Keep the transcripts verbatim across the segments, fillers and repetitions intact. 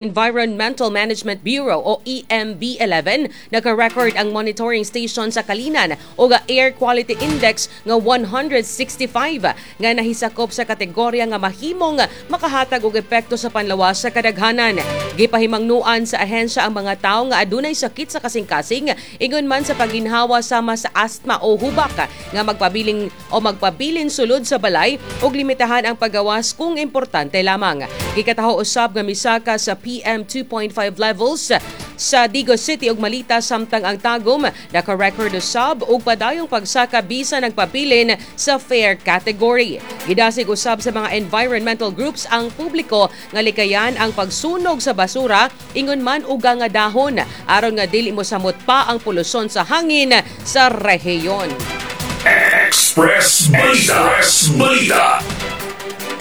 Environmental Management Bureau o E M B eleven, naka-record ang monitoring station sa Calinan og Air Quality Index nga one hundred sixty-five nga nahisakop sa kategorya nga mahimong makahatag og epekto sa panlawas sa kadaghanan. Gipahimangnuan sa ahensya ang mga tawo nga adunay sakit sa kasing-kasing, ingon man sa pagginhawa sama sa asthma o hubak, nga magpabiling o magpabilin sulod sa balay ug limitahan ang paggawas kung importante lamang. Gikataho usab nga misaka sa P M two point five levels sa Digos City ug Malita, samtang ang Tagum naka-record usab og padayong pagsaka bisan nagpabilin sa fair category. Gidasig usab sa mga environmental groups ang publiko nga likayan ang pagsunog sa basura, ingon man og nga dahon, aron nga dili mo samot pa ang polusyon sa hangin sa rehiyon. Express Balita. Express Balita.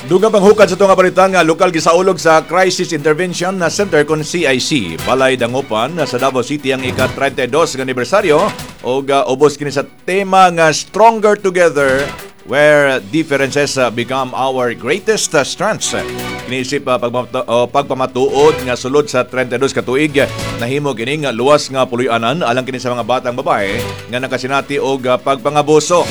Dugang panghukad sa itong balita nga lokal, gisaulog sa Crisis Intervention na Center kon C I C Balay Dangupan sa Davao City ang ika-trenta y dos nga anibersaryo og uh, ubos kini sa tema nga "Stronger Together: Where Differences uh, Become Our Greatest uh, Strengths." Kini isip uh, pagmamatu- uh, pagpamatuod nga sulod sa trenta y dos ka tuig nahimo kini nga luwas nga puloy-anan alang kini sa mga batang babae nga nakasinati og uh, pagpangabuso.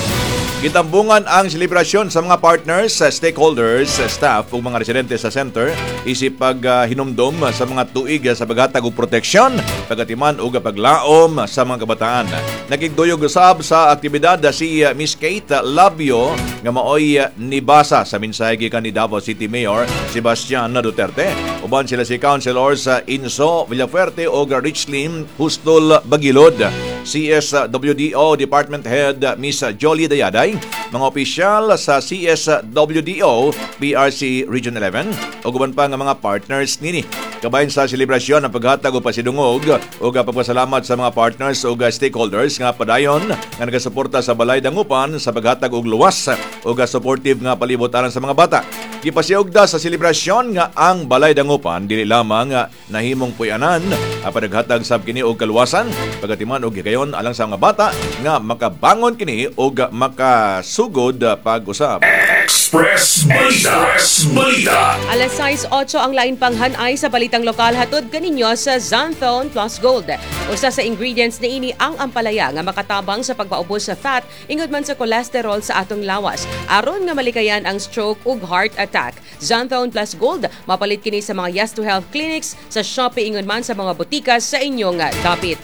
Gitambungan ang selebrasyon sa mga partners, sa stakeholders, sa staff ug mga residente sa center isip paghinumdom sa mga tuig sa paghatag og proteksyon, pagatiman ug paglaom sa mga kabataan. Nakigduyog usab sa aktibidad si Miss Kate Labio nga maoy nibasa sa mensahe gikan ni Davao City Mayor Sebastian Duterte. Uban sila si Councilors Inso Villafuerte ug Richlin Hustol Bagilod, C S W D O Department Head Miss Jolie Dayaday, mga opisyal sa C S W D O P R C Region eleven ug uban pa nga mga partners nini. Kabahin sa selebrasyon ang paghatag og pasidungog ug pagpasalamat sa mga partners ug stakeholders nga padayon nga nagasuporta sa Balay Dangupan sa paghatag og luwas ug supportive nga palibot alang sa mga bata. Gipasiugda sa selebrasyon nga ang Balay Dangupan dili lamang nahimong puy-anan apan naghatag sab kini og kaluwasan, pagatiman og higayon alang sa mga bata nga makabangon kini ug makasugod pag-usab. Express Balita. Express Balita. Alas sais otso, ang lain pang hanay sa balitang lokal hatod kaninyo sa Xanthone Plus Gold. Usa sa ingredients niini ang ampalaya nga makatabang sa pagpaubos sa fat, ingon man sa cholesterol sa atong lawas, aron nga malikayan ang stroke ug heart attack. Xanthone Plus Gold, mapalit kini sa mga Yes to Health clinics, sa Shopee, ingon man sa mga botika sa inyong dapit.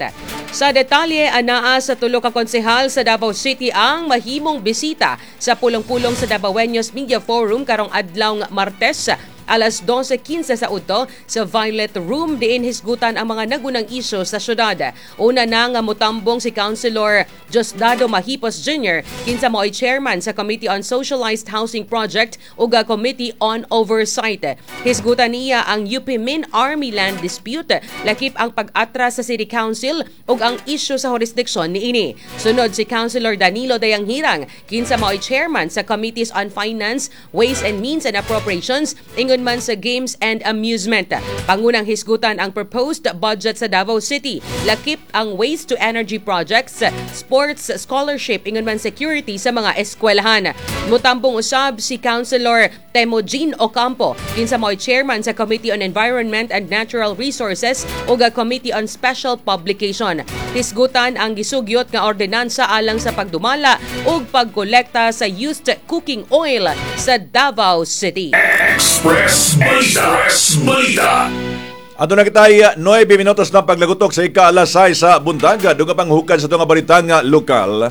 Sa detalye, anaa sa tulo ka konsehal sa Davao City ang mahimong bisita sa pulong-pulong sa Davaoeños Media Forum karong adlaw Martes alas dose kinse sa udto sa Violet Room, diin hisgutan ang mga nagunang isyu sa syudad. Una na nga mutambong si Councilor Diosdado Mahipos Junior, kinsa mao'y chairman sa Committee on Socialized Housing Project ug Committee on Oversight. Hisgutan niya ang U P Min Army Land Dispute, lakip ang pag-atras sa City Council ug ang isyu sa jurisdiction niini. Sunod si Councilor Danilo Dayanghirang, kinsa mao'y chairman sa Committees on Finance, Ways and Means and Appropriations, ingon man sa Games and Amusement. Pangunang hisgutan ang proposed budget sa Davao City, lakip ang waste to energy projects, sports scholarship, ingon man security sa mga eskwelahan. Mutambong usab si Councilor Temujin Ocampo, kinsa mao'y chairman sa Committee on Environment and Natural Resources ug Committee on Special Publication. Hisgutan ang gisugyot nga ordinansa alang sa pagdumala ug pagkolekta sa used cooking oil sa Davao City. Express Balita. Express Balita. Adto na kita nuwebe minutos na paglagutok sa ika-alas sais sa buntag. Dugang panghukad sa itong balita nga lokal.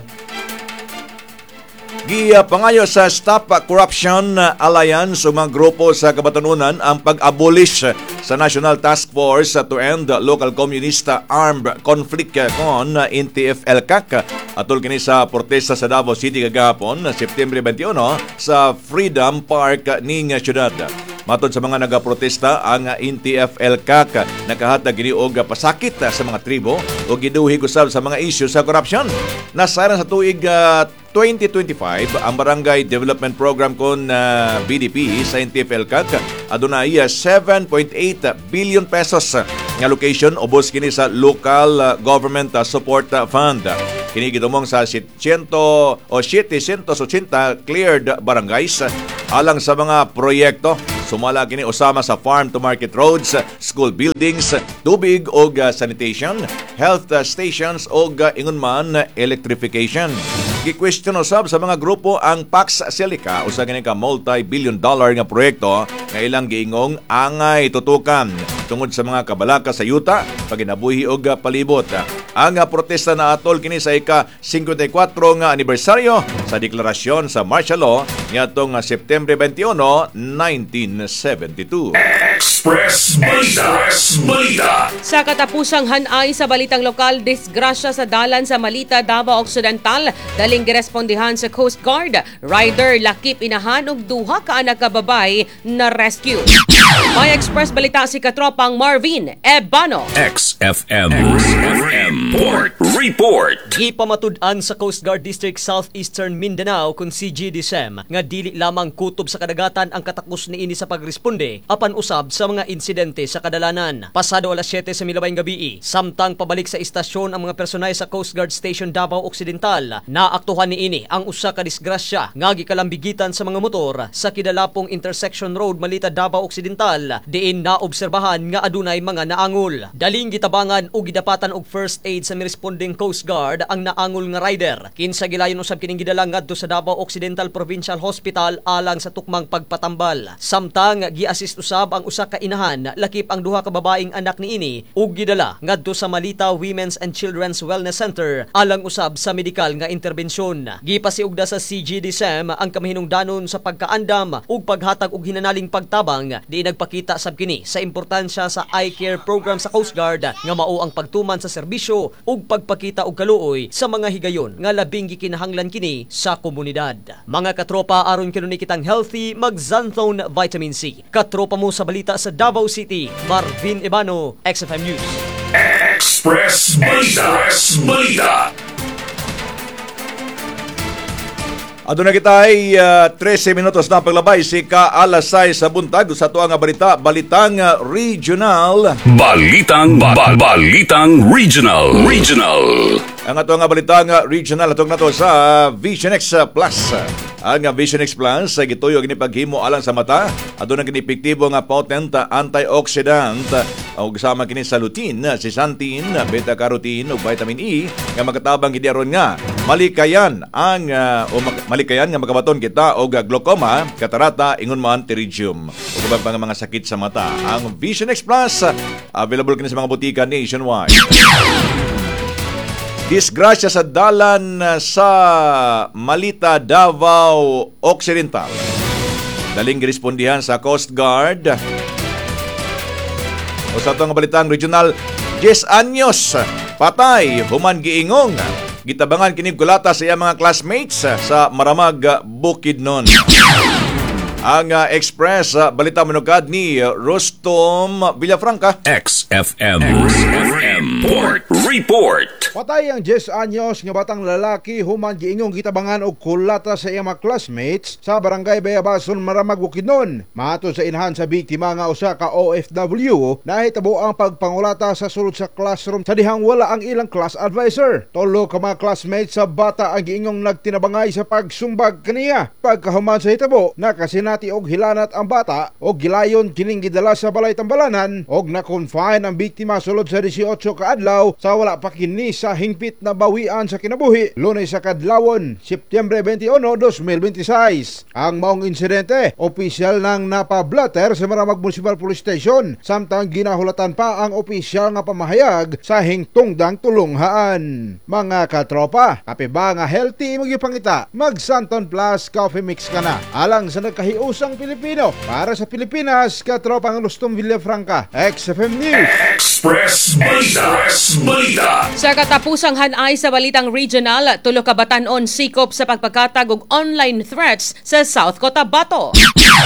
Giya pangayo sa Stop Corruption Alliance ug mga grupo sa kabatanunan ang pag-abolish sa National Task Force to End Local Communist Armed Conflict kon N T F-ELCAC. Atol kini sa protesta sa Davao City kagahapon, September twenty-one, sa Freedom Park ning syudad. Matod sa mga nagaprotesta, ang N T F-ELCAC nakahatag kini og pasakit sa mga tribo o giduhig usab sa mga isyu sa korupsyon. Nasayran sa tuig uh, twenty twenty-five ang Barangay Development Program kon uh, B D P sa N T F-ELCAC, adunay uh, seven point eight billion pesos nga allocation, ubos kini sa Local uh, Government uh, Support Fund. Kini gitumong sa seven o seven hundred eighty cleared barangays alang sa mga proyekto. Sumala kini usama sa farm to market roads, school buildings, tubig ug uh, sanitation, health uh, stations ug uh, ingon man electrification. Gi-question usab sa mga grupo ang Pax Silica, usa kini ka multi-billion dollar nga proyekto nga ilang giingong angay tutukan tungod sa mga kabalaka sa yuta, paginabuhi og palibot. Ang protesta na atol kini sa ika singkwenta y kwatro nga anibersaryo sa deklarasyon sa martial law niadtong Setyembre beinte uno, nineteen seventy-two. Express Balita. Express Balita. Sa katapusang hanay sa balitang lokal, disgrasya sa dalan sa Malita, Davao Occidental, daling girespondihan sa Coast Guard. Rider lakip inahan og duha ka anak ka babay na rescue. May Express Balita si katropang Marvin Ebano. X F M. X F M. Report. Report. Gipamatud-an sa Coast Guard District Southeastern Mindanao kun C G D S M nga dili lamang kutob sa kadagatan ang katakos niini sa pagresponde apan usab sa mga insidente sa kadalanan. Pasado alas siyete sa milabayng gabi, samtang pabalik sa istasyon ang mga personay sa Coast Guard Station Davao Occidental, naaktuhan niini ang usa ka disgrasya nga gikalambigitan sa mga motor sa Kidalapong Intersection Road, Malita, Davao Occidental, diin naobserbahan nga adunay mga naangol. Daling gitabangan ug gidapatan og first aid sa mirespondeng Coast Guard ang naangol nga rider. Kinsa gilayon usab kining gidala ngadto sa Davao Occidental Provincial Hospital alang sa tukmang pagpatambal. Samtang gi-assist usab ang usa ka inahan lakip ang duha ka babaeng anak niini ug gidala ngadto sa Malita Women's and Children's Wellness Center alang usab sa medikal nga interbensyon. Gipasiugda sa C G D S M ang kamahinungdanon sa pagkaandam ug paghatag og hinanaling pagtabang, di nagpakita sab kini sa importansya sa eye care program sa Coast Guard nga mao ang pagtuman sa serbisyo ug pagpakita og kaluoy sa mga higayon nga labing gikinahanglan kini sa komunidad. Mga katropa, aron kanunay kitang healthy, mag Xanthone Vitamin C. Katropa mo sa balita sa Davao City, Marvin Ebano, X F M News. Express Balita. Express Balita. Aduna kita ay uh, trese minutos na paglabay si ka alas sais sa buntag sa ato nga balita, balitang uh, regional. Balitang ba- Balitang Regional. Regional. Ang ato nga balitang uh, regional atong nato sa Vision X Plus. Ang Vision X Plus ay gituyo kini paghimo alang sa mata. Aduna kini epektibo nga potent antioxidant ug sama kini sa lutein, zeaxanthin, beta carotene ug vitamin E nga makatabang gid aron nga malikayan ang uh, o mak- malikayan nga makabaton kita og glaucoma, katarata, ingon man pterygium ug uban pa nga mga sakit sa mata. Ang Vision X Plus, available kini sa mga botika nationwide. Disgrasya sa dalan sa Malita, Davao Occidental. Daling girespondihan sa Coast Guard. O sa atong balitang regional, diyes anyos, patay, human giingong gitabangan kini kulata sa iyang mga classmates sa Maramag, Bukidnon. Ang uh, Express uh, Balita manukad ni uh, Rustom Villafranca. X F M. X F M. Report. Report. Patay ang diyes anyos nga batang lalaki human giingong gitabangan og kulata sa iyang mga classmates sa Barangay Bayabason, Maramag, Bukidnon. Matud sa inahan sa biktima nga usa ka O F W, nahitabo ang pagpangulata sa sulod sa classroom sa dihang wala ang ilang class advisor. Tulo ka mga classmates sa bata ang giingong nagtinabangay sa pagsumbag kaniya. Pagkahuman sa hitabo, nakasinati og hilanat ang bata og gilayon kining gidala sa balay tambalanan og na-confine ang biktima sulod sa diesotso ka adlaw sa wala pa kini sa hingpit na bawian sa kinabuhi Lunes sa kadlawon, Setyembre beinte uno, dalawang libo beinte sais. Ang maong insidente, opisyal nang napablatter sa Maramag Municipal Police Station samtang ginahulatan pa ang opisyal nga pamahayag sa hingtungdang tulunghaan. Mga katropa, kape ba nga healthy imong gipangita? Mag Xanthone Plus Coffee Mix ka na. Alang sa nagkahiusang Pilipino, para sa Pilipinas, katropang Rustom Villafranca, X F M News. Express Balita. Express Balita. Sa katapusang hanay sa balitang regional, tulo ka batan-on sikop sa pagpagkatag og online threats sa South Cotabato.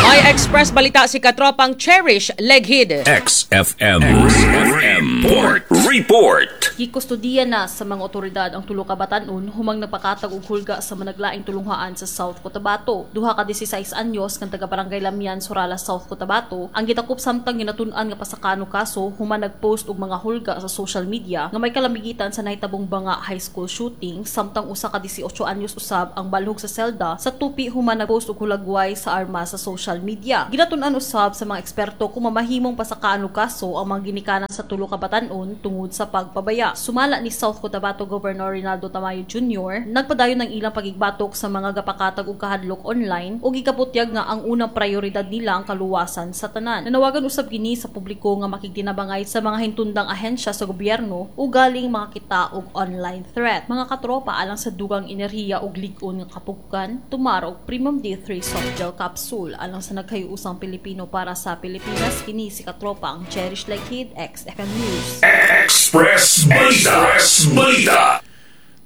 May Express Balita si katropang Cherish Leghid. X F M. X F M. Report. Report. Gikustudiya na sa mga otoridad ang tulo ka batan-on humang nagpakatag og hulga sa managlaing tulunghaan sa South Cotabato. Duha ka disisais anyos nga taga Barangay Lamian, Surala, South Cotabato ang gitakop samtang ginatun-an nga pasakano kaso human nagpost nagpost og mga hulga sa social media nga may kalamigitan sa nahitabong Banga High School shooting, samtang usa ka labing-walo anyos usab ang balhog sa selda sa Tupi human nagpost og hulagway sa arma sa social media. Ginatun-an usab sa mga eksperto kung mamahimong pasakaan og kaso ang mga ginikanan sa tulo ka batan-on tungod sa pagpabaya. Sumala ni South Cotabato Governor Reynaldo Tamayo Junior, nagpadayon ang ilang pagigbatok sa mga gapakatag og kahadlok online ug gikabutyag nga ang unang prioridad nila ang kaluwasan sa tanan. Nanawagan usab kini sa publiko nga makigtinabangay sa mga hintundang ahensya sa gobyerno o galing makakita og online threat. Mga katropa, alang sa dugang enerhiya ug lig-on nga kapugukan, tumar og Premium D three Soft Gel Capsule. Alang sa nagkayuusang Pilipino para sa Pilipinas, kini si katropa ang Cherish Like Kid, X F M News. Express Balita. Express Balita.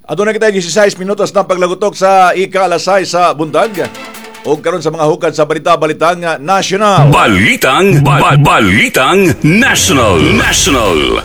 Aduna kita labing-sais minutos na paglagutok sa ika-alas sais sa buntag. O karon sa mga hukad sa balita, balitang national. Balitang ba- Balitang National. National.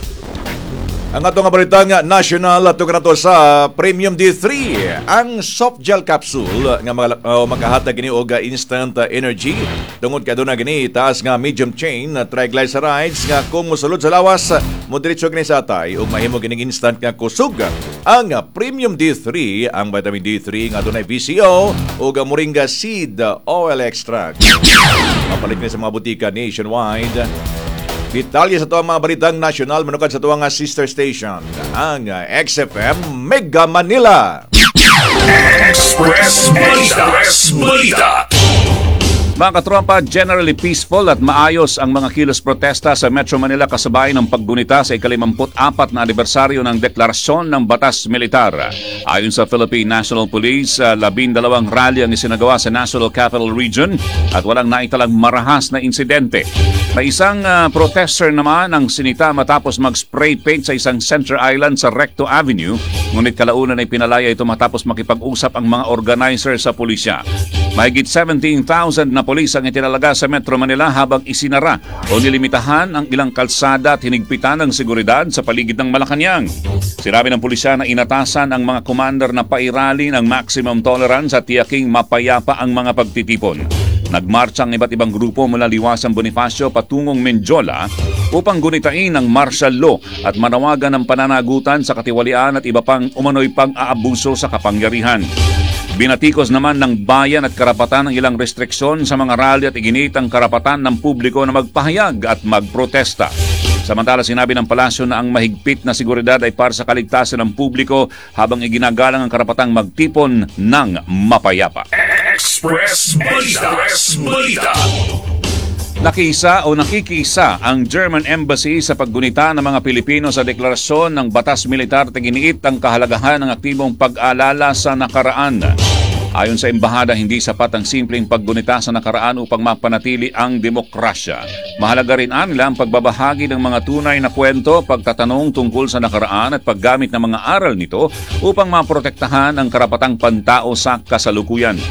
Ang ato nga balitang national ato kanato sa Premium D three, ang soft gel capsule nga mga, uh, makahatag gini og instant energy tungod kay aduna gini taas nga medium chain triglycerides nga kung mosulod sa lawas, mo diretso gini sa atay ug mahimo gining instant nga kusog. Ang Premium D three, ang vitamin D three nga adunay V C O ug moringa seed oil extract. Mapalit ni sa mga butika nationwide. Detalye sa tuang mga balitang nasyonal manukad sa tuang sister station, ang X F M Mega Manila. Express Balita. Express Balita. Mga katropa, generally peaceful at maayos ang mga kilos protesta sa Metro Manila kasabay ng paggunita sa ikalimamput-apat na anibersaryo ng deklarasyon ng Batas Militar. Ayon sa Philippine National Police, ah, labindalawang rally ang isinagawa sa National Capital Region at walang naitalang marahas na insidente. May isang ah, protester naman ang sinita matapos mag-spray paint sa isang center island sa Recto Avenue, ngunit kalaunan ay pinalaya ito matapos makipag-usap ang mga organizer sa pulisya. Mahigit seventeen thousand na pulis ang itinalaga sa Metro Manila habang isinara o nilimitahan ang ilang kalsada at hinigpitan ang seguridad sa paligid ng Malacanang. Sinabi ng pulisya na inatasan ang mga commander na pairalin ang maximum tolerance at tiyaking mapayapa ang mga pagtitipon. Nagmarcha ang iba't ibang grupo mula Liwasang Bonifacio patungong Mendiola upang gunitain ang martial law at manawagan ng pananagutan sa katiwalian at iba pang umano'y pang-aabuso sa kapangyarihan. Binatikos naman ng Bayan at Karapatan ang ilang restriksyon sa mga rally at iginiit ang karapatan ng publiko na magpahayag at magprotesta. Samantala, sinabi ng palasyo na ang mahigpit na seguridad ay para sa kaligtasan ng publiko habang iginagalang ang karapatang magtipon ng mapayapa. Express Balita. Express Balita. Nakiisa o nakikiisa ang German Embassy sa paggunita ng mga Pilipino sa deklarasyon ng Batas Militar at giniit ang kahalagahan ng aktibong pag-alala sa nakaraan. Ayon sa embahada, hindi sapat ang simpleng paggunita sa nakaraan upang mapanatili ang demokrasya. Mahalaga rin anila ang pagbabahagi ng mga tunay na kwento, pagtatanong tungkol sa nakaraan at paggamit ng mga aral nito upang maprotektahan ang karapatang pantao sa kasalukuyan.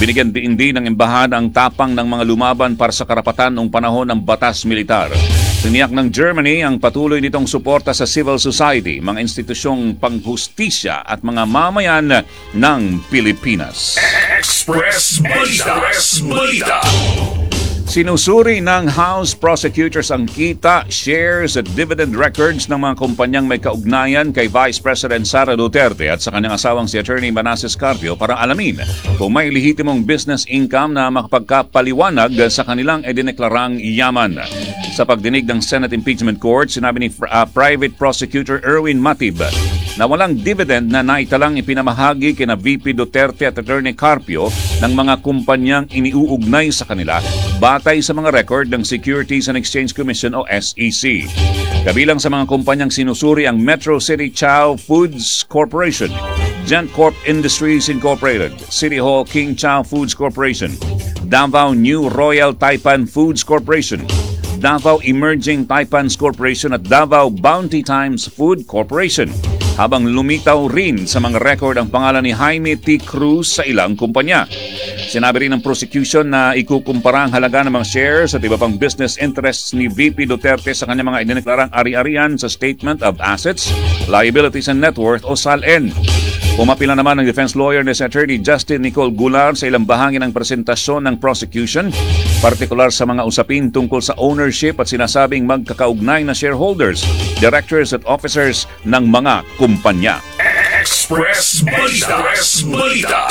Binigyan din din ng embahada ang tapang ng mga lumaban para sa karapatan noong panahon ng Batas Militar. Tiniyak ng Germany ang patuloy nitong suporta sa civil society, mga institusyong panghustisya at mga mamayan ng Pilipinas. Express Balita. Express Balita. Sinusuri ng House prosecutors ang kita, shares at dividend records ng mga kumpanyang may kaugnayan kay Vice President Sara Duterte at sa kanyang asawang si Attorney Manases Carpio para alamin kung may lehitimong business income na makapagkapaliwanag sa kanilang idineklarang yaman. Sa pagdinig ng Senate Impeachment Court, sinabi ni uh, Private Prosecutor Erwin Matib na walang dividend na naitalang ipinamahagi kina V P Duterte at Attorney Carpio ng mga kumpanyang iniuugnay sa kanila batay sa mga record ng Securities and Exchange Commission o S E C. Kabilang sa mga kumpanyang sinusuri ang Metro City Chow Foods Corporation, Gentcorp Industries Incorporated, City Hall King Chow Foods Corporation, Davao New Royal Taipan Foods Corporation, Davao Emerging Taipans Corporation at Davao Bounty Times Food Corporation. Habang lumitaw rin sa mga record ang pangalan ni Jaime T. Cruz sa ilang kumpanya. Sinabi rin ng prosecution na ikukumpara ang halaga ng mga shares at iba pang business interests ni V P Duterte sa kanyang mga idineklarang ari-arian sa Statement of Assets, Liabilities and Net Worth o SALN. Pumapila naman ang defense lawyer ni si Attorney Justin Nicole Gular sa ilang bahagi ng presentasyon ng prosecution, partikular sa mga usapin tungkol sa ownership at sinasabing magkakaugnay na shareholders, directors at officers ng mga kumpanya. Express Balita. Express Balita.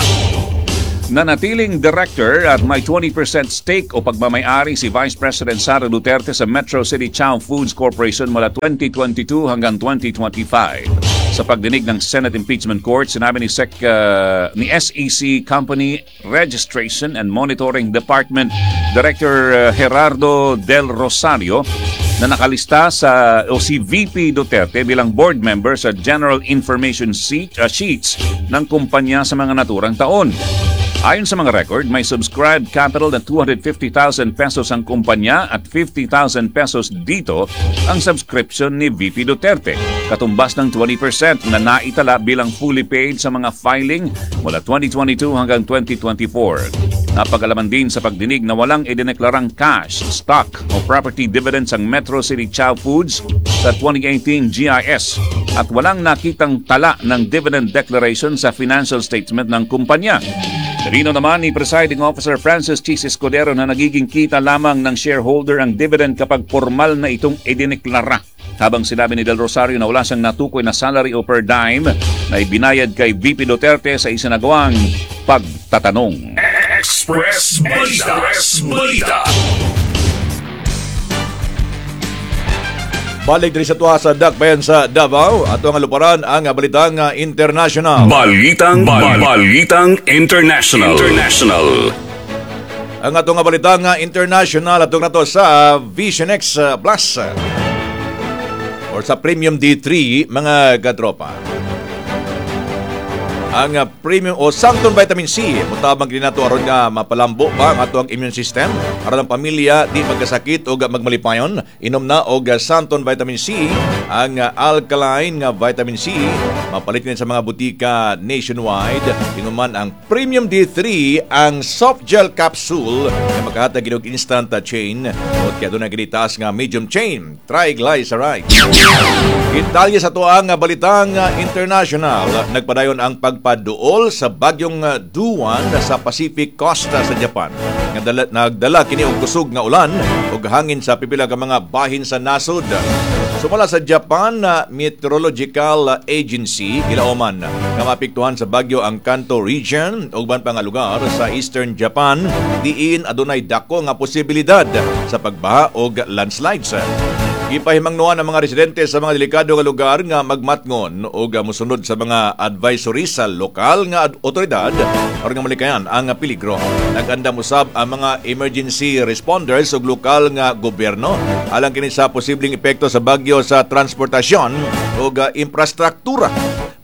Nanatiling director at may twenty percent stake o pagmamayari si Vice President Sara Duterte sa Metro City Chow Foods Corporation mula twenty twenty-two hanggang twenty twenty-five. Sa pagdinig ng Senate Impeachment Court, sinabi ni, S E C, uh, ni S E C Company Registration and Monitoring Department Director uh, Gerardo Del Rosario na nakalista sa o si V P Duterte bilang board member sa General Information Sheet, uh, Sheets ng kumpanya sa mga naturang taon. Ayon sa mga record, may subscribed capital na two hundred fifty thousand pesos ang kumpanya at fifty thousand pesos dito ang subscription ni V P Duterte, katumbas ng twenty percent na naitala bilang fully paid sa mga filing mula twenty twenty-two hanggang twenty twenty-four. Napag-alaman din sa pagdinig na walang idineklarang cash, stock o property dividends ang Metro City Chow Foods sa twenty eighteen G I S at walang nakitang tala ng dividend declaration sa financial statement ng kumpanya. Tinino naman ni Presiding Officer Francis Chiz Escudero na nagiging kita lamang ng shareholder ang dividend kapag formal na itong idineklara. Habang sinabi ni Del Rosario na wala siyang natukoy na salary o per diem na ibinayad kay V P Duterte sa isinagawang pagtatanong. Express Balita. Express Balita. Balik diri sa tuwa sa Dakbayan sa Davao, ato ang luparan ang balitang ah, international. Balitang Bal- Balitang International. International. Ang atong nga balitang ah, international, atong nato sa Vision X ah, Plus or sa Premium D three, mga katropa. Ang ah, premium o Xanthone Vitamin C, mutabang din nato aron nga mapalambo pa ang ato ang immune system aron ang pamilya di magkasakit o magmalipayon. Inom na og ah, Xanthone Vitamin C, ang ah, alkaline nga vitamin C, mapalit din sa mga butika nationwide. Ingon ang Premium D three, ang soft gel capsule nga makahatag og instant ah, chain o kaya doon na taas nga medium chain triglycerides. Italia sa tuang balitang ah, international, nagpadayon ang pagpaduol sa bagyong ah, Duan sa Pacific Coast ah, sa Japan. Nagdala, nagdala kini og kusog nga ulan ug hangin sa pipila ka mga bahin sa nasod. Sumala sa Japan ah, Meteorological Agency, gilauman nga maapektuhan sa bagyo ang Kanto region ug uban pa nga lugar sa Eastern Japan, diin adunay dako nga posibilidad sa pagbaha og landslides. Gipahimangnuan ang mga residente sa mga delikado nga lugar nga magmatngon o musunod sa mga advisory sa lokal nga ad- otoridad aron nga malikayan ang peligro. Nag-andam usab ang mga emergency responders ug lokal nga gobyerno alang kini sa posibleng epekto sa bagyo sa transportasyon ug infrastruktura.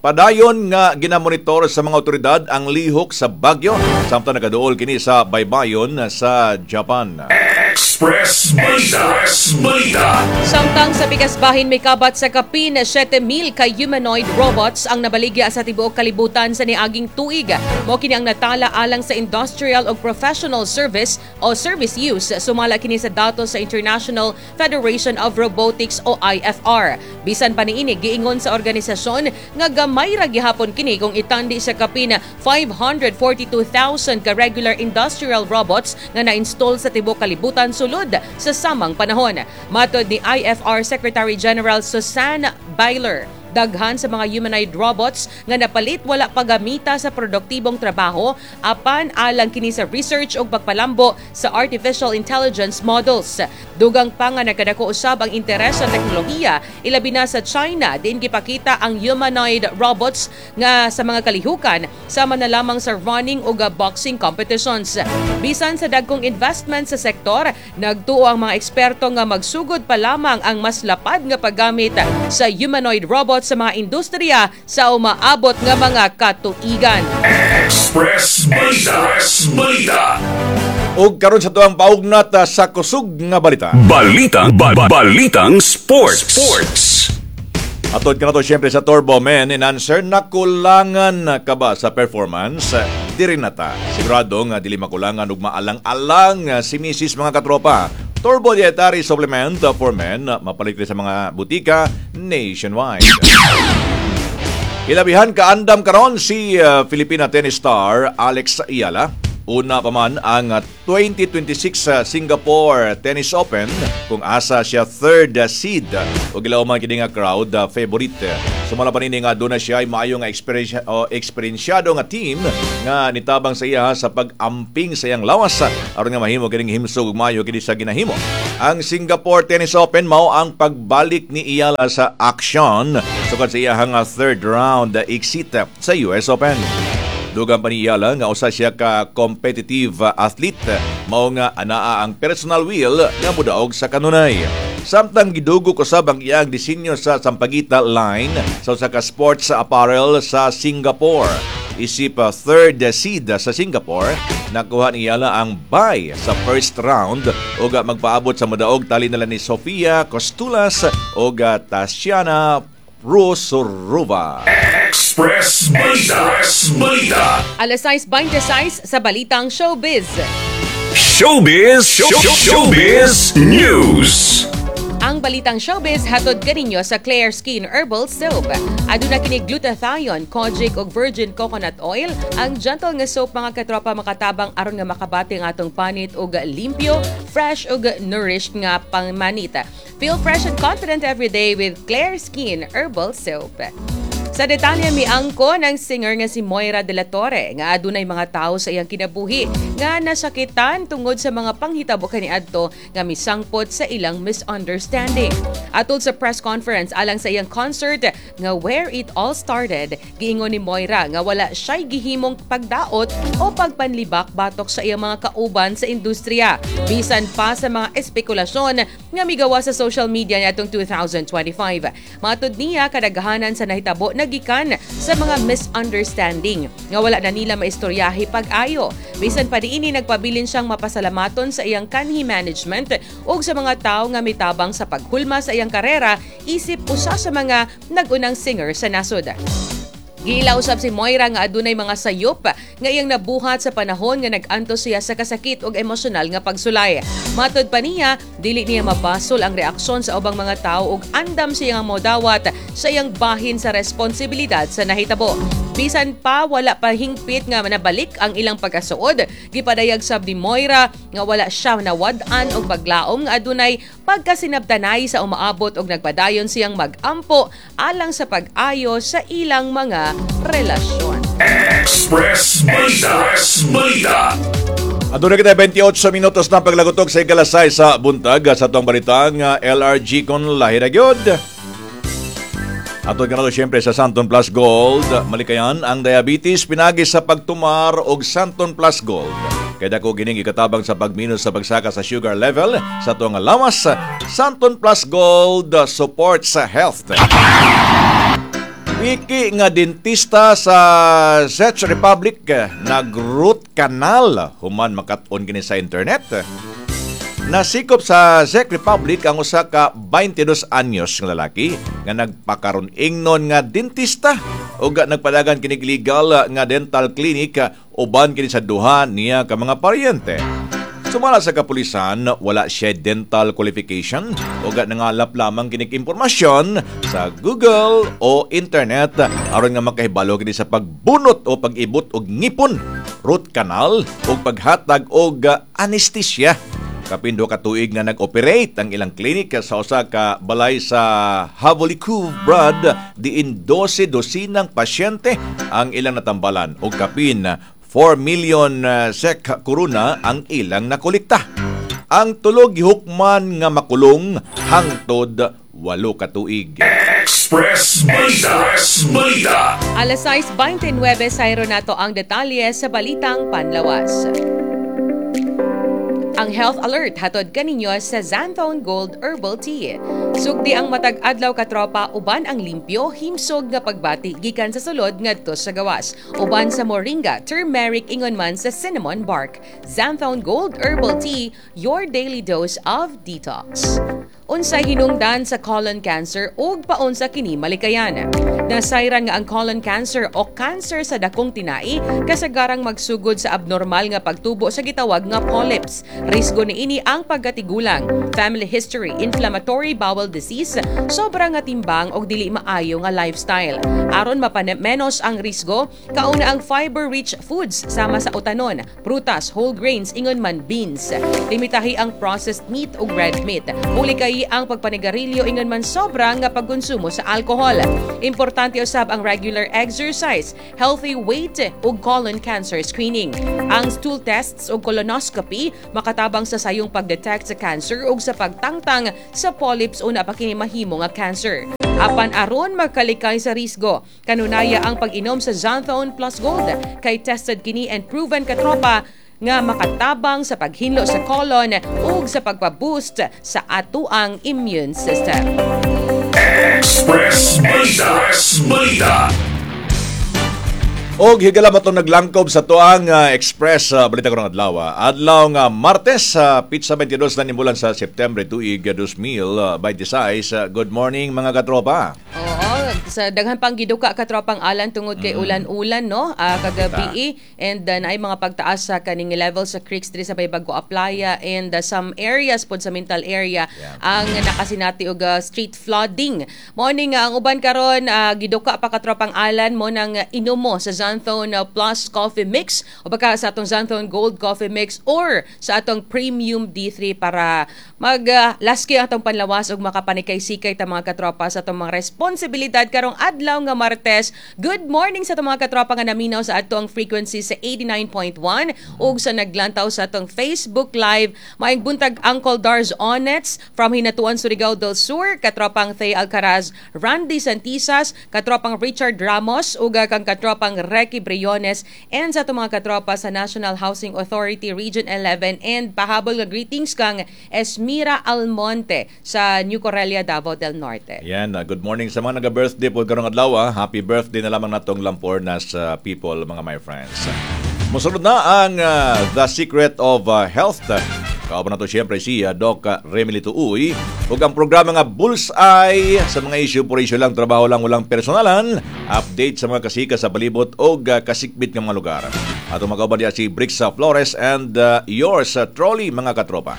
Padayon nga ginamonitor sa mga otoridad ang lihok sa bagyo samtang nagaduol kini sa baybayon sa Japan. Express Balita. Express Balita. Samtang sa pikas bahin, may kabat sa kapin seven mil ka humanoid robots ang nabaligya sa tibuok kalibutan sa niaging tuig. Mao kini ang natala alang sa industrial ug professional service o service use, sumala kini sa datos sa International Federation of Robotics o I F R. Bisan pa niini, giingon sa organisasyon nga gamay ra gihapon kini kung itandi sa kapin five hundred forty-two thousand ka regular industrial robots nga na-install sa tibuok kalibutan sulod sa samang panahon. Matod ni I F R Secretary General Susanne Beiler, daghan sa mga humanoid robots nga napalit wala pagamita sa produktibong trabaho, apan alang kini sa research ug pagpalambo sa artificial intelligence models. Dugang pa nga nagkadako usab ang interes sa teknolohiya, ilabi na sa China, diin gipakita ang humanoid robots nga sa mga kalihukan sama na lamang sa running ug boxing competitions. Bisan sa dagkong investment sa sektor, nagtuo ang mga eksperto nga magsugod pa lamang ang mas lapad nga paggamit sa humanoid robots sa mga industriya sa umaabot nga mga katuigan. Express Balita. Express Balita. Ug karon sa tuang paugnat ah, sa kusog nga balita. Balitang ba, Balitang Sports. Sports. Atod ka na to siyempre sa Turbo Men Enhancer, nakulangan ka ba sa performance? Diri na ta. Sigurado nga dili makulangan ug maalang-alang si Missus, mga katropa. Turbo Dietary Supplement for Men, mapalit sa mga butika nationwide. Hilabihan kaandam karon si uh, Filipina tennis star Alex Eala. Una pa man ang uh, twenty twenty-six sa Singapore Tennis Open kung asa siya third uh, seed o gilaw man kini nga crowd uh, favorite. Sumala pa nini nga duna siya ay maayo nga eksperyensya o eksperyensyado nga team nga nitabang sa iya sa pag-amping sa iyang lawas aron nga mahimo kining himsog ug maayo kini sa ginahimo. Ang Singapore Tennis Open mao ang pagbalik ni Eala sa aksyon sukad sa iyang third round exit sa U S Open. Dugang pa ni Eala nga usa siya ka competitive athlete, mao nga anaa ang personal will nga mudaog sa kanunay. Samtang gidugok usab ang iyang disenyo sa Sampaguita line sa usa ka sports apparel sa Singapore. Isip uh, third seed sa Singapore, nakuha ni Eala ang bye sa first round ug magpaabot sa modaog tali nila ni Sofia Costoulas ug Tatiana Rosurova. Express Balita. Express Balita. Alas sais twenty-six sa Balitang Showbiz. Showbiz. Show, Showbiz News. Ang Balitang Showbiz hatod kaninyo sa Claire Skin Herbal Soap. Aduna kini glutathione, kojic ug virgin coconut oil. Ang gentle nga soap, mga katropa, makatabang aron nga makabati ang atong panit og limpyo, fresh ug nourished nga pangmanit. Feel fresh and confident every day with Claire Skin Herbal Soap. Sa detalye, miangko ng singer nga si Moira de la Torre nga adunay mga tao sa iyang kinabuhi nga nasakitan tungod sa mga panghitabo kaniadto nga misangpot sa ilang misunderstanding. Atol sa press conference alang sa iyang concert nga Where It All Started, giingon ni Moira nga wala siya'y gihimong pagdaot o pagpanlibak batok sa iyang mga kauban sa industriya. Bisan pa sa mga espekulasyon nga migawa sa social media niadtong twenty twenty-five. Matud niya, kadaghanan sa nahitabo nagikan sa mga misunderstanding nga wala na nila maistoryahi pag-ayo. Bisan pa niini, nagpabilin siyang mapasalamaton sa iyang kanhi management ug sa mga tawo nga mitabang sa paghulma sa iyang karera isip usa sa mga nag-unang singer sa nasod. Giila usab si Moira nga adunay mga sayop nga iyang nabuhat sa panahon nga nag-antos siya sa kasakit ug emosyonal nga pagsulay. Matod pa niya, dili niya mabasol ang reaksyon sa ubang mga tao ug andam siya nga modawat sa iyang bahin sa responsibilidad sa nahitabo. Bisan pa wala pa hingpit nga nabalik ang ilang pagkasuod, gipadayag sab ni Moira nga wala siya nawad-an og paglaom nga adunay pagkasinabtanay sa umaabot og nagpadayon siyang mag-ampo alang sa pag-ayo sa ilang mga relasyon. Express Balita. Express Balita. Aduna kita twenty-eight minutos na paglagutok sa ikalas sais sa buntag sa atong balitang uh, L R G kon lahi ra gyud. Atod kanalo siyempre sa Xanthone Plus Gold, malikayan ang diabetes pinagi sa pagtumar og Xanthone Plus Gold. Kay dako kining ikatabang sa pagminus sa pagsaka sa sugar level sa atong lawas. Xanthone Plus Gold supports health. Wiki nga dentista sa Czech Republic nag-root canal human makat-on kini sa internet. Nasikop sa Czech Republic ang usa ka twenty-two anyos nga lalaki nga nagpakaron ingnon nga dentista ug nagpadagan kini legal nga dental clinic uban kini sa duha niya ka mga paryente. Sumala sa kapulisan, wala siya dental qualification o nangalap lamang kinig impormasyon sa Google o internet aron nga makahibalo kini sa pagbunot o pag-ibot og ngipon, root canal o paghatag og anesthesia. Kapin duha ka tuig na nag-operate ang ilang klinik sa usa ka balay sa Havlíčkův Brod, diin dose dosinang pasyente ang ilang natambalan og kapin four million uh, S E K koruna ang ilang nakolekta. Ang tulo gihukman nga makulong hangtod walo ka tuig. Express Balita. Express Balita. Alas sais twenty-nine, sayro nato ang detalye sa Balitang Panlawas. Ang Health Alert hatod kaninyo sa Xanthone Gold Herbal Tea. Sugdi ang matag adlaw, katropa, uban ang limpyo, himsog nga pagbati gikan sa sulod ngadto sa gawas. Uban sa moringa, turmeric ingon man sa cinnamon bark. Xanthone Gold Herbal Tea, your daily dose of detox. Unsay hinungdan sa colon cancer ug paunsa kini malikayan? Nasayran nga ang colon cancer o cancer sa dakong tinai kasagarang magsugod sa abnormal nga pagtubo sa gitawag nga polyps. Risgo niini ang pagkatigulang, family history, inflammatory bowel disease, sobra nga timbang og dili maayo nga lifestyle. Aron mapamenos ang risgo, kauna ang fiber-rich foods sama sa utanon, prutas, whole grains, ingon man beans. Limitahi ang processed meat ug red meat. Uli kay ang pagpanigarilyo ingon man sobra nga pagkonsumo sa alcohol. Importante usab ang regular exercise, healthy weight ug colon cancer screening. Ang stool tests ug colonoscopy makatabang sa sayong pagdetect sa cancer ug sa pagtangtang sa polyps una pa kini mahimo nga cancer. Apan aron magkalikay sa risgo, kanunaya ang pag-inom sa Xanthone Plus Gold kay tested kini and proven, katropa, nga makatabang sa paghinlo sa colon ug sa pagpa-boost sa atuang immune system. Express Balita. Express Balita. Og higala ba itong naglangkob sa tuang uh, Express uh, Balita karong adlaw. ah. Adlaw nga Martes sa uh, petsa twenty-two na nibulan sa September tuig two thousand twenty-six. Uh, good morning, mga katropa. Oo, sa daghan pang giduka, katropang Alan, tungod kay ulan-ulan, no, uh, kagabi and uh, naay mga pagtaas sa kaning level sa creeks diri sa Baybag Aplaya and uh, some areas pod sa Mintal area Yeah. ang nakasinati og uh, street flooding. Mao ni nga ang uban karon uh, giduka pa, katropang Alan, mo nang uh, inumo sa Xanthone uh, Plus Coffee Mix o baka sa atong Xanthone Gold Coffee Mix or sa atong Premium D three para mag uh, laski ang atong panlawas ug makapanikay-sikay ta, mga katropa, sa atong mga responsibilidad karong adlaw nga Martes. Good morning sa atong mga katropa nga naminaw sa atong frequency sa eighty-nine point one ug sa naglantaw sa atong Facebook Live. Maayong buntag, Uncle Dars Onets from Hinatuan, Surigao del Sur, katropang Thay Alcaraz, Randy Santisas, katropang Richard Ramos ug kang katropang Recky Briones and sa atong mga katropa sa National Housing Authority Region eleven and pahabol nga greetings kang Esmira Almonte sa New Corellia, Davao del Norte. Yan, uh, good morning sa mga naga-birthday po karong adlaw. ah. Happy birthday na lamang natong Lampornas uh, people, mga my friends. Musunod na ang uh, The Secret of uh, Health. Kauban nato siyempre si uh, Doc Remilito Uy. Ug ang programa nga Bullseye sa mga issue por issue lang, trabaho lang, walang personalan. Update sa mga kasika sa palibot o uh, kasikbit nga mga lugar. Ato makauban diya si Brixa Flores and uh, yours uh, truly, mga katropa.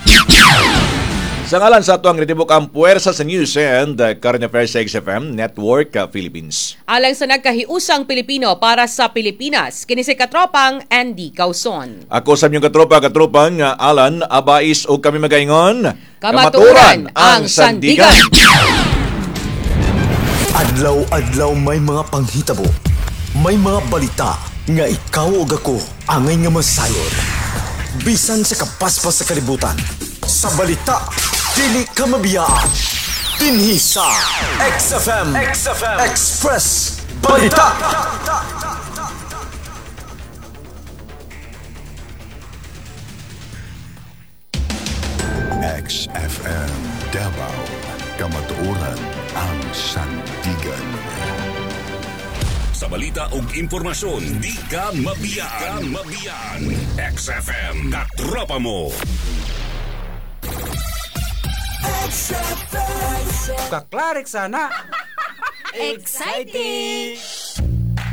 Sa ngalan sa ato ang ritibok ang puwersa sa news and uh, current affairs sa X F M Network uh, Philippines. Alang sa nagkahiusang Pilipino para sa Pilipinas, kini si katropang Andy Causon. Ako sa inyong katropa, katropang uh, Alan Abais o kami magaingon. Kamatuoran ang sandigan. Adlaw-adlaw may mga panghitabo. May mga balita nga ikaw ug ako angay nga masayon. Bisan sa kapaspas sa kalibutan. Sa balita, dili ka mabiyaan. Dinhi sa X F M, X F M Express Balita. X F M Davao. Kamatuoran ang sandigan. Sa balita ug impormasyon, di ka mabiyaan. Mabiyaan. X F M, katropa mo. Kaklarik sana. Exciting!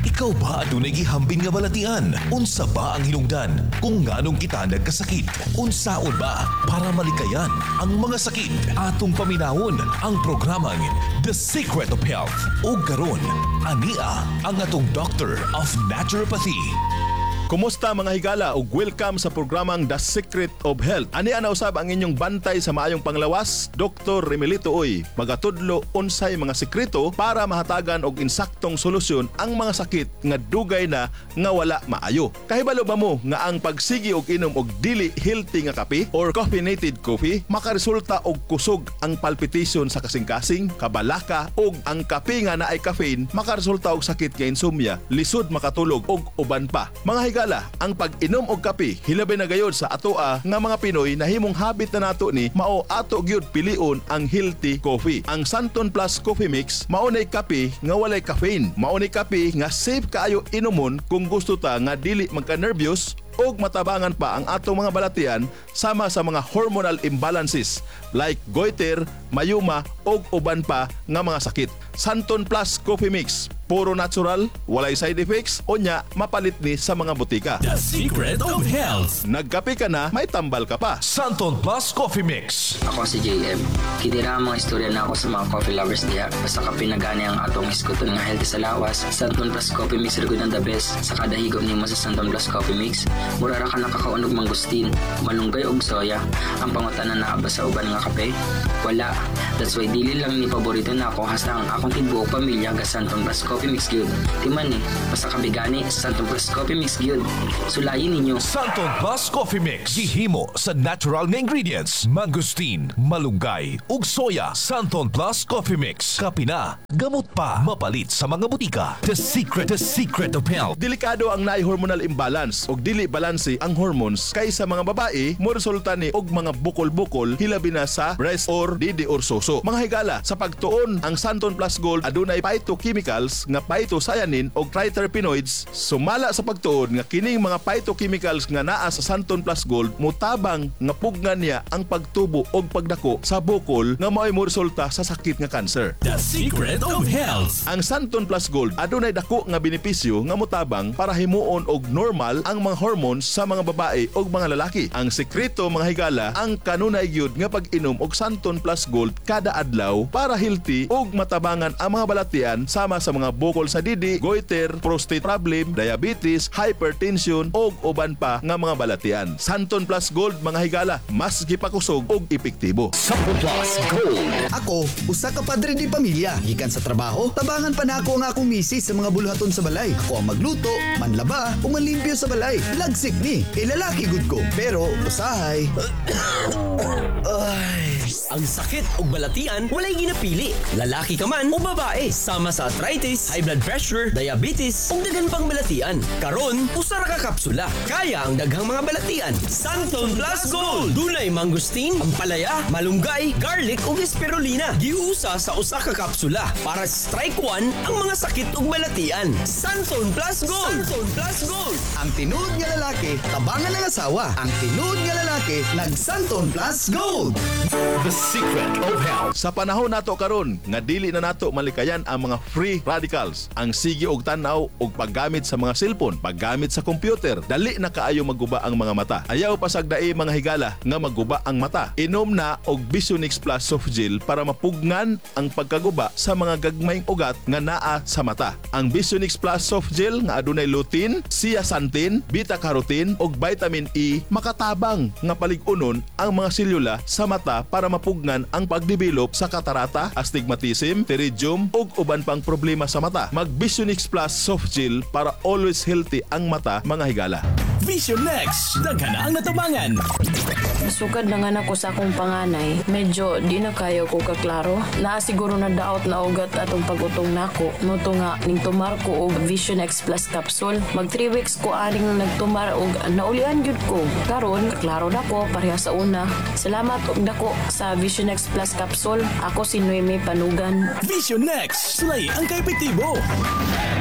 Ikaw ba adunay gihambin nga balatian? Unsa ba ang hinungdan kung nganong kita nagkasakit? Unsaon ba para malikayan ang mga sakit? Atong paminawon ang programang The Secret of Health. O karon, ania ang atong Doctor of Naturopathy. Kumusta, mga higala, ug welcome sa programang The Secret of Health. Ani ana usab ang inyong bantay sa maayong panglawas, Doctor Remilito Uy. Magatudlo unsay mga sekreto para mahatagan og insaktong solusyon ang mga sakit nga dugay na nga wala maayo. Kahibalo ba mo nga ang pagsigi og inom og dili healthy nga kape or caffeinated coffee makaresulta og kusog ang palpitation sa kasing-kasing, kabalaka ug ang kape nga naay caffeine makaresulta og sakit nga insomnia, lisod makatulog ug uban pa? Mga higala, ang pag-inom og kape hilabi na gayod sa atoa nga mga Pinoy, nahimong habit na nato ni, mao ato gyud pilion ang healthy coffee. Ang Santon Plus Coffee Mix mao nay kape nga walay caffeine. Mao nay kape nga safe kaayo inumon kung gusto ta nga dili magka-nervyos ug matabangan pa ang atong mga balatian sama sa mga hormonal imbalances like goiter, myoma ug uban pa nga mga sakit. Santon Plus Coffee Mix, puro natural, walay side effects, unya mapalit ni sa mga botika. The Secret of Health. Nagkape ka na, may tambal ka pa. Santon Plus Coffee Mix. Ako si J M. Kini ra ang mga istorya na ako sa mga coffee lovers diha. Basta kape na gani ang atong hisguton nga healthy sa lawas. Santon Plus Coffee Mix ra gud ang the best. Sa kada higop nimo sa Santon Plus Coffee Mix, mura ra ka nakakaon og mangustin, malunggay og soya. Ang pangutana, naa ba sa uban nga kape? Wala. That's why dili lang ni paborito nako, hasta ang akong tibuok pamilya ga Santon Plus Coffee Mix gyud. Timan ni, basta kape gani, Santon Plus Coffee Mix gyud. Sulayin ninyo. Santon Plus Coffee Mix. Gihimo sa natural nga ingredients. Mangosteen, malunggay, ug soya. Santon Plus Coffee Mix. Kape na, gamot pa. Mapalit sa mga botika. The Secret, The Secret of Health. Delikado ang naay hormonal imbalance og dili balanse ang hormones kay sa mga babae mo resulta ni og mga bukol-bukol, hilabi na sa breast or didi or suso. Mga higala, sa pagtuon ang Santon Plus Gold adunay phytochemicals nga phytocyanin og triterpenoids. Sumala sa pagtuon nga kining mga phytochemicals nga naa sa Santon Plus Gold mutabang nga pugnan niya ang pagtubo og pagdako sa bukol nga mao'y moresulta sa sakit nga cancer. The Secret of Health. Ang Santon Plus Gold adunay dako nga benepisyo nga motabang para himuon og normal ang mga hormones sa mga babae ug mga lalaki. Ang sekreto, mga higala, ang kanunay gyud nga pag-inom og Santon Plus Gold kada adlaw para healthy ug matabangan ang mga balatian sama sa mga bukol sa didi, goiter, prostate problem, diabetes, hypertension ug uban pa nga mga balatian. Santon Plus Gold, mga higala, mas gipakusog ug epektibo. Santon Plus Gold. Ako, usa ka padre di pamilya. Gikan sa trabaho, tabangan pa nako ang akong misis sa mga buluhaton sa balay. Ako ang magluto, manlaba, o manlimpyo sa balay. Lagsik ni, kay lalaki gud ko. Pero, usahay, ay. Ang sakit ug balatian walay ginapili. Lalaki ka man o babae, sama sa arthritis, high blood pressure, diabetes ug daghan pang balatian. Karon, usa ra ka kapsula. Kaya ang daghang mga balatian. Santon Plus Gold. Dunay mangosteen, ampalaya, malunggay, garlic ug spirulina. Giusa sa usa ka kapsula para strike one ang mga sakit ug balatian. Santon Plus Gold. Santon Plus Gold. Ang tinuod nga lalaki, tabangan ng asawa. Ang tinuod nga lalaki, nag-Santon Plus Gold. The Secret of Health. Sa panahon nato karon nga dili na nato malikayan ang mga free radicals, ang sige og tan-aw og paggamit sa mga cellphone, paggamit sa computer, dali na kaayo magguba ang mga mata. Ayaw pasagdai, mga higala, nga magguba ang mata. Inom na og Visionix Plus Soft Gel para mapugnan ang pagkaguba sa mga gagmayng ugat nga naa sa mata. Ang Visionix Plus Soft Gel nga adunay lutein, zeaxanthin, beta-carotene ug vitamin E makatabang nga palig-unon ang mga selula sa mata para mapugnan ang pagdevelop sa katarata, astigmatism, pterygium ug uban pang problema sa mata. Mag Visionix Plus Soft Gel para always healthy ang mata, mga higala. Vision Next. Daghan na ang natabangan. Sukad nanganak ko sa akong panganay, medyo di na kayo ko kaklaro. Naa siguro na daot na ugat atong pag-utong nako. Mao to nga ning tumar ko og Vision X Plus capsule. Mag three weeks ko aning nagtumar og naulian gyud ko. Karon klaro na ko pareha sa una. Salamat og dako sa Vision X Plus capsule. Ako si Noemi Panugan. Vision Next. Sulay ang kaepektibo.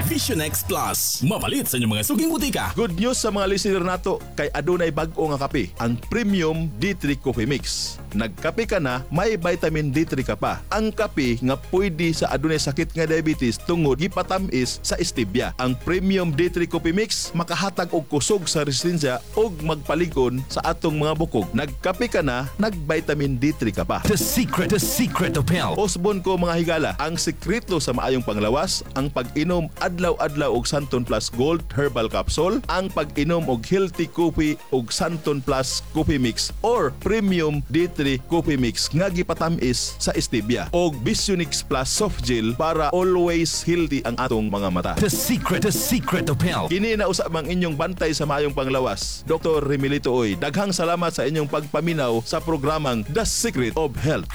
Vision X Plus. Mapalit sa inyong mga suking butika. Good news sa mga listener nato kay adunay bag-o nga kape, ang Premium D three Coffee Mix. Nagkape ka na, may vitamin D three ka pa. Ang kape nga pwede sa adunay sakit nga diabetes tungod gipatamis sa stevia. Ang Premium D three Coffee Mix makahatag og kusog sa resistensya ug magpalig-on sa atong mga bukog. Nagkape ka na, nag-vitamin D three ka pa. The Secret, The Secret of Health. Usbon ko, mga higala, ang sekreto sa maayong panglawas, ang pag-inom adlaw-adlaw og Santon Plus Gold Herbal Capsule, ang pag-inom og healthy coffee og Santon Plus Coffee Mix or Premium D three Coffee Mix nga gipatamis sa stevia og Visionix Plus Soft Gel para always healthy ang atong mga mata. The Secret, The Secret of Health. Kini na usab ang inyong bantay sa maayong panglawas, Doctor Remilito Oy. Daghang salamat sa inyong pagpaminaw sa programang The Secret of Health.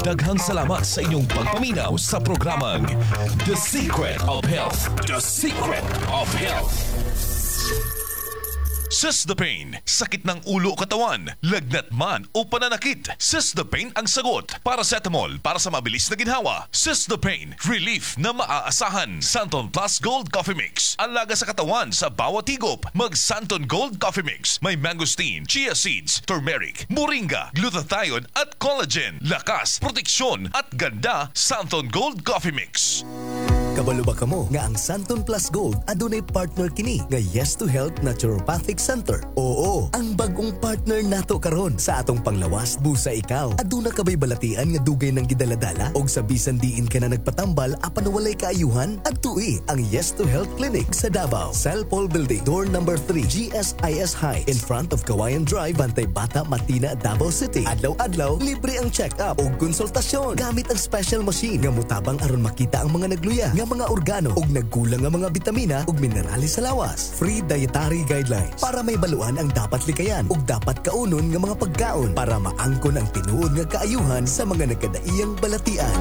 Daghang salamat sa inyong pagpaminaw sa programang The Secret of Health. The Secret of Health. Sis the Pain, sakit ng ulo o katawan, lagnat man o pananakit. Sis the Pain ang sagot. Paracetamol para sa mabilis na ginhawa. Sis the Pain, relief na maaasahan. Santon Plus Gold Coffee Mix, alaga sa katawan sa bawat higop. Mag Santon Gold Coffee Mix, may mangosteen, chia seeds, turmeric, moringa, glutathione at collagen. Lakas, proteksyon at ganda, Santon Gold Coffee Mix. Kabalo ba kamo nga ang Santon Plus Gold adunay partner kini nga Yes to Health Naturopathic Center? Oo, ang bagong partner nato karon sa atong panglawas busa ikaw. Aduna ka bay balatian nga dugay nang gidaladala og sa bisan diin ka na nagpatambal apan walay kaayuhan? Adtui ang Yes to Health Clinic sa Davao. Cellpol Building, door number three, G S I S High, in front of Kawayan Drive, Bantay Bata, Matina, Davao City. Adlaw-adlaw, libre ang check-up ug konsultasyon gamit ang special machine nga mutabang aron makita ang mga nagluya nga mga organo ug nagkulang nga mga bitamina ug minerales sa lawas. Free dietary guidelines para may baluan ang dapat likayan ug dapat kaunon nga mga pagkaon para maangkon ang tinuod nga kaayuhan sa mga nagkadaiyang balatian.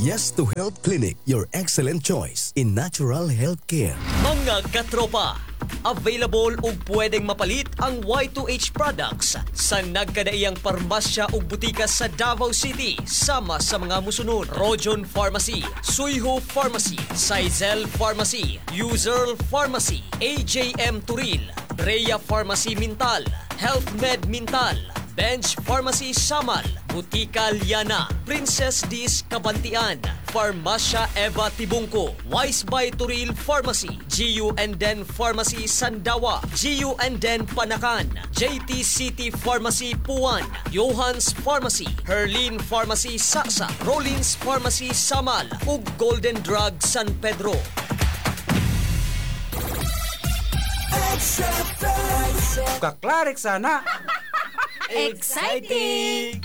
Yes to Health Clinic, your excellent choice in natural health care. Mga katropa, available ug pwedeng mapalit ang Y two H products sa nagkadaiyang parmasya ug butika sa Davao City sama sa mga musunod: Rojon Pharmacy, Suyho Pharmacy, Saizel Pharmacy, Userl Pharmacy, A J M Turil, Brea Pharmacy Mintal, Health Med Mintal, Bench Pharmacy Samal, Butika Liana, Princess Dis Kabantian, Farmasya Eva Tibungko, Wise by Turil Pharmacy, G U and Den Pharmacy Sandawa, G U and Den Panacan, J T City Pharmacy Puan, Johans Pharmacy, Herlene Pharmacy Saksa, Rollins Pharmacy Samal, ug Golden Drug San Pedro. Kaklarik sana. Exciting!